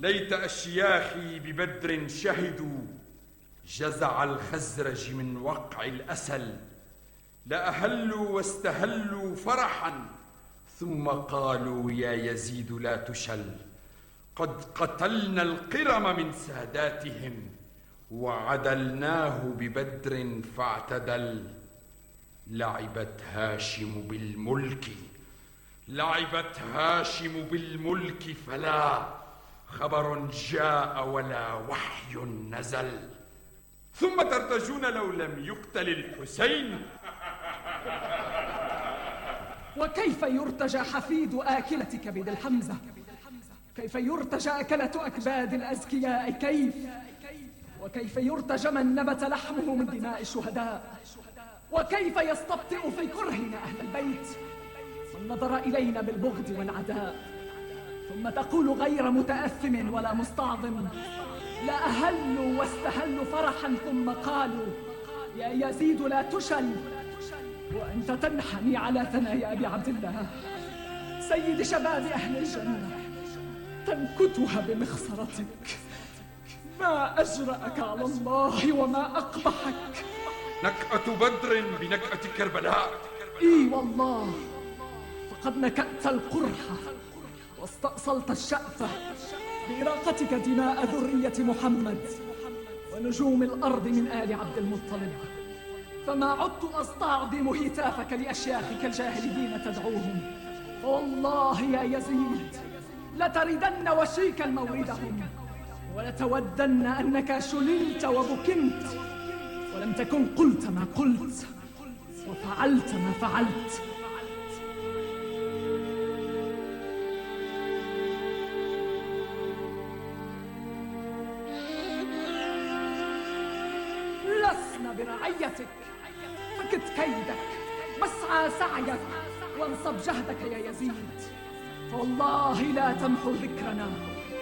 ليت أشياخي ببدر شهدوا جزع الخزرج من وقع الأسل، لأهلوا واستهلوا فرحا ثم قالوا يا يزيد لا تشل. قد قتلنا القرم من ساداتهم وعدلناه ببدر فاعتدل. لعبت هاشم بالملك، لعبت هاشم بالملك، فلا خبر جاء ولا وحي نزل. ثم ترتجون لو لم يقتل الحسين. وكيف يرتجى حفيد آكلة كبد الحمزة؟ كيف يرتجى أكلة أكباد الأزكياء؟ كيف؟ وكيف يرتجى من نبت لحمه من دماء الشهداء؟ وكيف يستبطئ في كرهنا أهل البيت من نظر إلينا بالبغض والعداء؟ ثم تقول غير متأثم ولا مستعظم لا أهلوا واستهلوا فرحا ثم قالوا يا يزيد لا تشل، وأنت تنحني على ثنايا أبي عبد الله سيد شباب أهل الجنة تنكتها بمخصرتك. ما أجرأك على الله وما أقبحك. نكأة بدر بنكأة كربلاء. إي والله، فقد نكأت القرحة واستأصلت الشأفة بإراقتك دماء ذرية محمد ونجوم الأرض من آل عبد المطلب. فما عدت أستعظم هتافك لأشياخك الجاهليين تدعوهم، فوالله يا يزيد لتردن وشيكا موردهم ولتودن أنك شللت وبكمت ولم تكن قلت ما قلت وفعلت ما فعلت. لسنا برعيتك، فكت كيدك واسعى سعيك وانصب جهدك يا يزيد، فوالله لا تمحو ذكرنا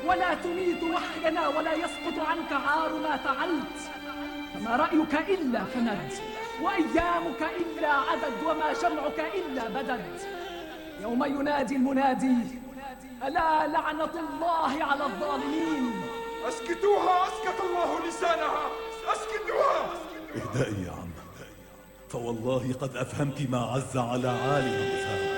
ولا تميت وحينا ولا يسقط عنك عار ما فعلت. فما رأيك إلا فند وأيامك إلا عدد وما جمعك إلا بدد. يوم ينادي المنادي ألا لعنة الله على الظالمين. أسكتوها، أسكت الله لسانها، أسكتوها. اهدئي يا عم، فوالله قد أفهمت ما عز على عالم.